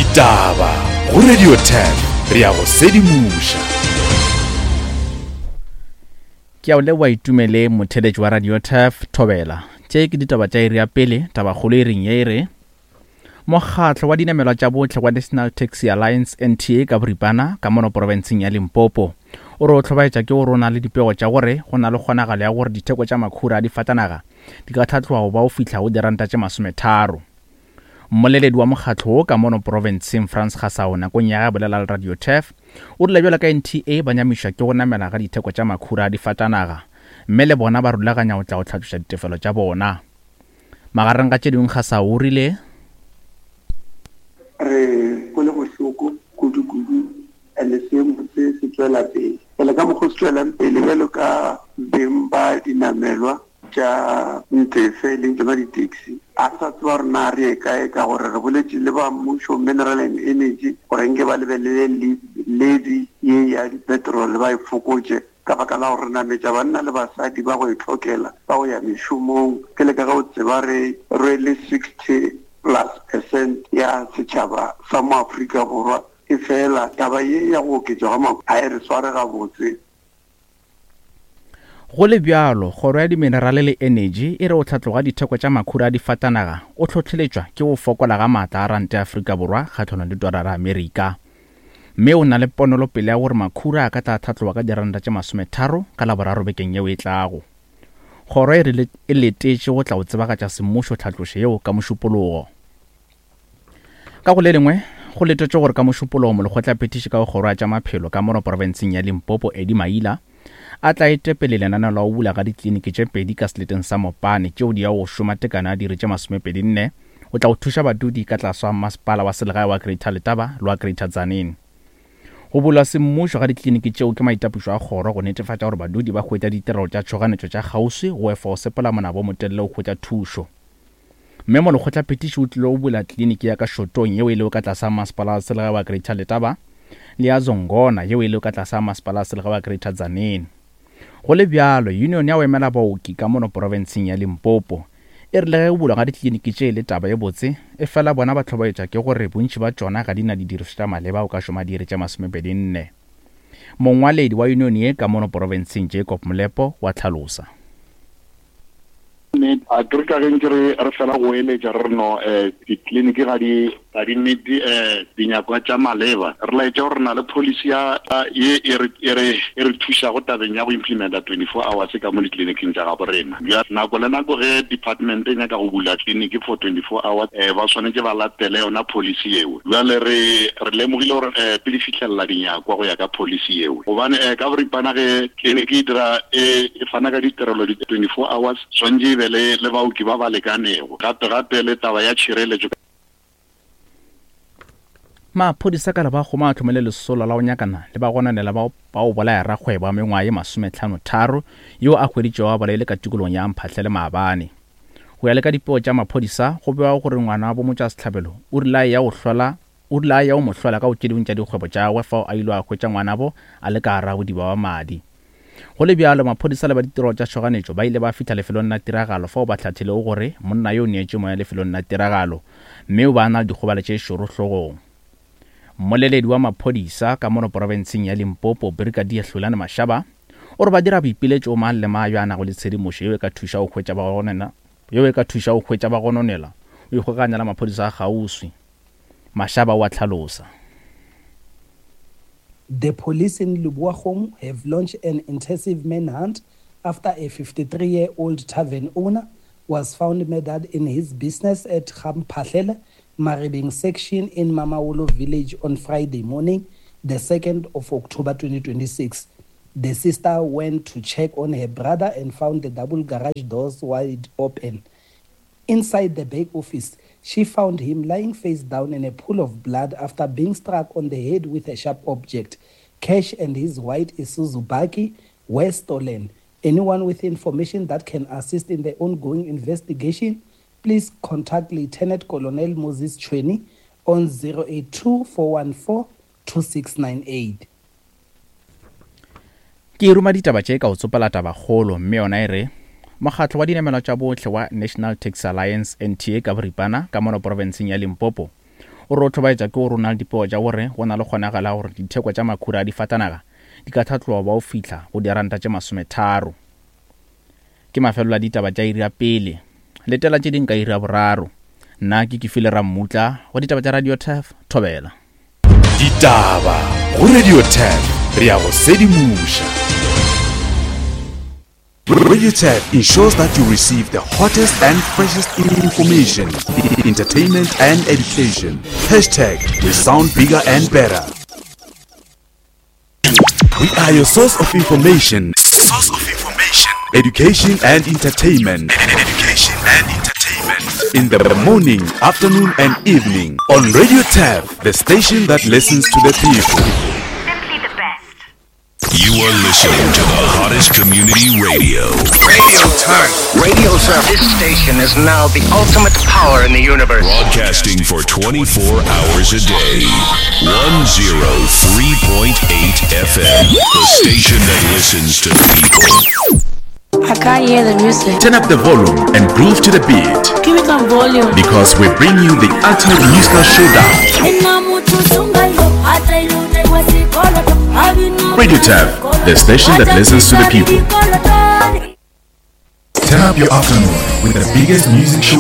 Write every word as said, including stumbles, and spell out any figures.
Ditaba go Radio ten re ya go sedimoša. Ke a o leboa itumele motheletši wa Radio Turf Thobela. Tše ke ditaba tša iri ya pele, tabakgolo e reng ye e re Mokgatlo wa dinamelwa tša bohle wa National Taxi Alliance N T A ka boripana ka mono profenseng ya Limpopo o re o hlobaetša ke gore o na le dipego tša gore go na le kgonagalo ya gore ditheko tša makhura a difatanaga di ka tlhatloga go ba o fihla go diranta tše masometharo. Mmoleledi wa mokgatlo wo ka mono profenseng Frans Gasao nakong ya ge a bolela le Radio Turf o rile bjalo ka N T A ba nyamišwa ke go namela ga ditheko tša makhura a difatanaga mme le bona ba rulaganya go tla go tlhatloša ditefelo tša bona. Magareng ga tše dingwe Gasao o rile re kwele bohloko kudu-kudu and seemo se se tšwela pele. Pele ka mokgwa o se tšwelang pele bjalo ka beng ba dinamelwa tša ntefe leng tsona di-taxi, a re sa tseba gore na re ye kae ka gore re boletše le ba mmušo Mineral and Energy gore nke ba lebelele levy ye ya di-petrol ba e fokotše ka baka la gore nametša banna le basadi ba go e tlhokela ba go ya mešomong. Ke le ka ge o tseba re rwele sixty plus percent ya setšhaba sa mo Afrika Borwa, e fela taba ye ya go oketšwa ga makhura ga e re sware gabotse. Go le bjalo, kgoro ya diminerale le energy e re o tlhatloga ditheko tša makhura a difatanaga o hlohleletšwa ke go fokola ga maatla a ranta ya Afrika Borwa kgahlanong le dolara ya Amerika. Mme o na le ponolopele ya gore makhura a ka tla tlhatloga ka diranta tše masometharo ka Laboraro bekeng yeo e tlago. Kgoro e re e letetše go tla go tsebagatša semmušo tlhatlošo yeo ka Mošupologo. Ka go le lengwe, go letetšwe gore ka Mošupologo molekgotlaphethiši ka go kgoro ya tša maphelo ka mono profenseng ya Limpopo Eddie Maila a tla etepele lenaneo la go bula ga ditleliniki tše pedi ka seleteng sa Mopane tšeo di yago go šoma tekano ya diiri tše masomepedi nne go tla go thuša badudi ka tlase ga masepala wa selegae wa Greater Letaba le wa Greater Tzaneen. Go bulwa semmušo ga ditleliniki tšeo ke maitapišo a kgoro go netefatša gore badudi ba hwetša ditirelo tša tšhoganetšo tša kgauswi go efa go sepela monabo o motelele go hwetša thušo. Mme molekgotlaphethiši o tlile go bula tleliniki ya ka Shotong yeo e lego ka tlase ga masepala wa selegae wa Greater Letaba le ya Zongona yeo e lego ka tlase ga masepala wa selegae wa Greater Tzaneen. Go le bjalo, union ya go emela baoki ka mono profenseng ya Limpopo e rile ge go bulwa ga ditleliniki tše e le taba e botse, e fela bona ba hlobaetšwa ke gore bontši ba tšona ga di na didirišwa tša maleba go ka šoma diiri tše masomepedi nne. Mongwaledi wa union ye ka mono profenseng Jacob Molepo wa tlhalosa. A ke re ka ge ntse re re fela go eletša re re no um ditleliniki ga di ga di meet um dinyakwa tša maleba. Re laetša gore re na le policy ya ye e re e re e re thušago tabeng ya go implementa twenty-four hours ka mo ditleliniking tša gabo rena. Nako le nako ge department e nyaka go bula tleliniki for twenty-four hours um ba swanetše ba latele yona policy yeo. Bjale re re lemogile gore um pele fihlelela dinyakwa go ya ka policy yeo, gobane um ka boripana ge tleliniki e dira e fana ka ditirelo di twenty-four hours swanetše e be le le baoki ba ba lekanego, gape gape le taba ya tšhireletšo. Maphodisa ka ba goma a tlhomele lesolo la go nyakana le ba gononela ba go bolaya rakgwebo wa mengwaga ye masometlhano tharo yo a hweditšwego a bolaile ka tikologong ya Mphahlele maabane. Go ya le ka dipego tša maphodisa, go bewa gore ngwana wa bomotšwasehlabelo o rile a ya go hlola o rile a ya go mo hlola ka go tše dingwe tša dikgwebo tša gagwe fao a ile a hwetša ngwanabo a le ka gare ga bodiba ba madi. Go le bjalo, maphodisa le ba ditirelo tša tšhoganetšo ba ile ba fihla lefelong la tiragalo fao ba hlathilego gore monna yo o neetše moya lefelong la tiragalo mme o ba a na le dikgobalo tše šoro hlogong. Mmoleledi wa maphodisa ka mono profenseng ya Limpopo Brigadier Hlulani Mashaba o re ba dira boipiletšo mang le mang yo a nago le tshedimošo yeo e ka thuša go hwetša ba gononela yeo e ka thuša go hwetša ba gononela o ikgokaganya le maphodisa a kgauswi. Mashaba o a tlhalosa. The police in Lebowakgomo have launched an intensive manhunt after a fifty-three-year-old tavern owner was found murdered in his business at Gamphahlele, Maribeng section in Mamabolo village on Friday morning, the second of October twenty twenty-six. The sister went to check on her brother and found the double garage doors wide open. Inside the back office, she found him lying face down in a pool of blood after being struck on the head with a sharp object. Cash and his white Isuzu bakkie were stolen. Anyone with information that can assist in the ongoing investigation, please contact Lieutenant Colonel Moses Chweni on zero eight two, four one four, two six nine eight. Ke ruma ditaba tše ka go tsopela tabakgolo, mme yona e re mokgatlo wa dinamelwa tša bohle wa National Taxi Alliance N T A ka boripana ka mono profenseng ya Limpopo O re o hlobaetša ke gore o na le dipego tša gore go na le kgonagalo ya gore ditheko tša makhura a difatanaga di ka tlhatloga ba o fihla go diranta tše masometharo. Ke mafelelo a ditaba tša iri ya pele. Letela tše ding ka iri ya boraro. Nna ke Kefile Rammutla go ditaba tša Radio Turf Thobela. Ditaba go Radio Turf re ya go sedimoša. Radio Turf ensures that you receive the hottest and freshest information, entertainment and education. Hashtag we sound bigger and better. We are your source of information. Source of information. Education and entertainment. Education and entertainment. In the morning, afternoon and evening on Radio Turf, the station that listens to the people. Simply the best. You are listening to the hottest community radio. Radio Turf. Radio Turf. This station is now the ultimate power in the universe. Broadcasting for twenty-four hours a day. one oh three point eight F M. The station that listens to people. I can't hear the music. Turn up the volume and groove to the beat. Give me some volume. Because we bring you the ultimate musical showdown. Radio Turf, the station that listens to the people. Turn up your afternoon with the biggest music show.